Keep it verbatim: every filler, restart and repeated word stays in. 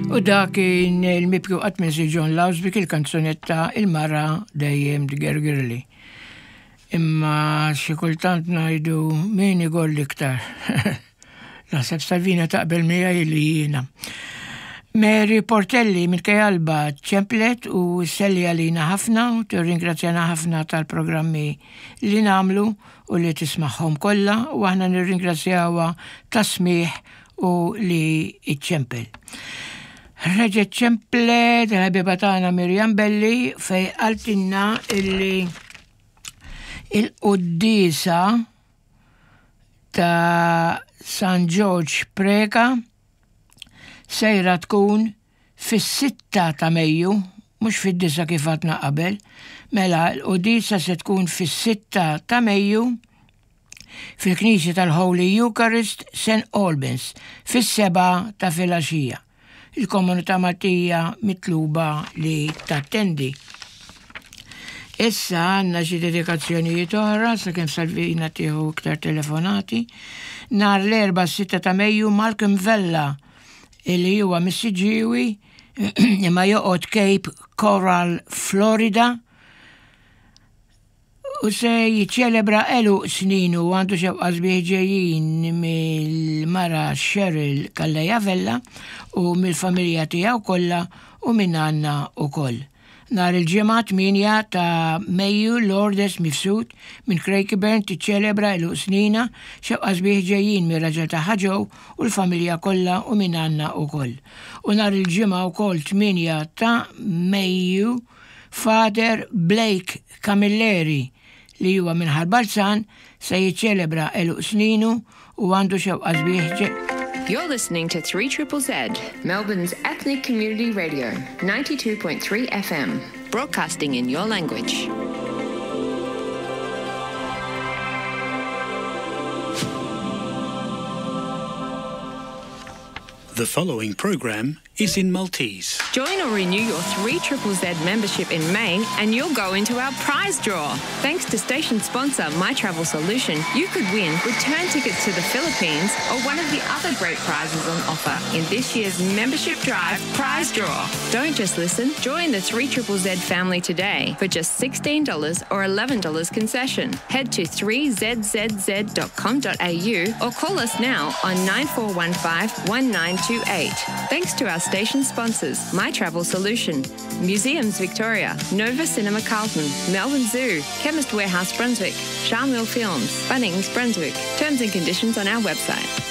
U dak kien il-mibki qatt minsi John Laws bik il-kanzunetta Il-Mara Dejjem Tgergirli. Imma xi kultant ngħidu min igorr iktar. Naħseb Salvina taqbel miegħi li jiena. Mary Portelli minn Kajalba ċemplet u sselli għalina ħafna u tirringrazzjana ħafna tal-programmi li nagħmlu u li tismagħhom kollha u aħna nirringrazzjawha tas-smigħ u li iċċempel. Reġgħet ċemplet il-ħabiba tagħna Mirjam Belli fej qaltilna illi il-quddiesa ta' San George Preka sejra tkun fis-sitta ta' Mejju, mhux fid-disgħa kif għedna qabel, mela l-quddiesa se tkun fis-sitta ta' Mejju fil-Knisja tal-Holy Eucharist Saint Albans fis-sebgħa ta' filgħaxija. Il-komunità Maltija mitluba li tattendi. Issa għandna xi dedikazzjonijiet oħra sakemm Salvina tieħu iktar telefonati. Nhar l-Erbgħa sitta ta' Mejju Malcolm Vella illi huwa mis-Siġġiewi imma joqgħod Cape Coral, Florida u se jiċċelebra għeluq sninu u għandu xewqa sbieħ ġejjin mill-mara Cheryl Calleja Vella u mill-familja tiegħu kollha u minn għandna ukoll. Nhar il-Ġimgħa tmienja ta' Mejju Lourdes Mifsud minn Craigieburn tiċċelebra għeluq sninha, xewqa sbieħ ġejjin mir-raġel tagħha Joe u l-familja kollha u minn għandna ukoll. U nhar il-Ġimgħa wkoll tmienja ta' Mejju Father Blake Camilleri li huwa minn Ħal Balzan se jiċċelebra għeluq sninu u għandu xewqa sbieħ ġej. You're listening to three Triple Z, Melbourne's ethnic community radio, ninety-two point three F M, broadcasting in your language. The following program is in Maltese. Join or renew your three Triple Z membership in May and you'll go into our prize draw. Thanks to station sponsor My Travel Solution, you could win return tickets to the Philippines or one of the other great prizes on offer in this year's Membership Drive prize draw. Don't just listen, join the three Triple Z family today for just sixteen dollars or eleven dollars concession. Head to three Z Z Z dot com dot A U or call us now on nine four one five one nine two eight. Thanks to our station sponsors, My Travel Solution, Museums Victoria, Nova Cinema Carlton, Melbourne Zoo, Chemist Warehouse Brunswick, Charmil Films, Bunnings Brunswick. Terms and conditions on our website.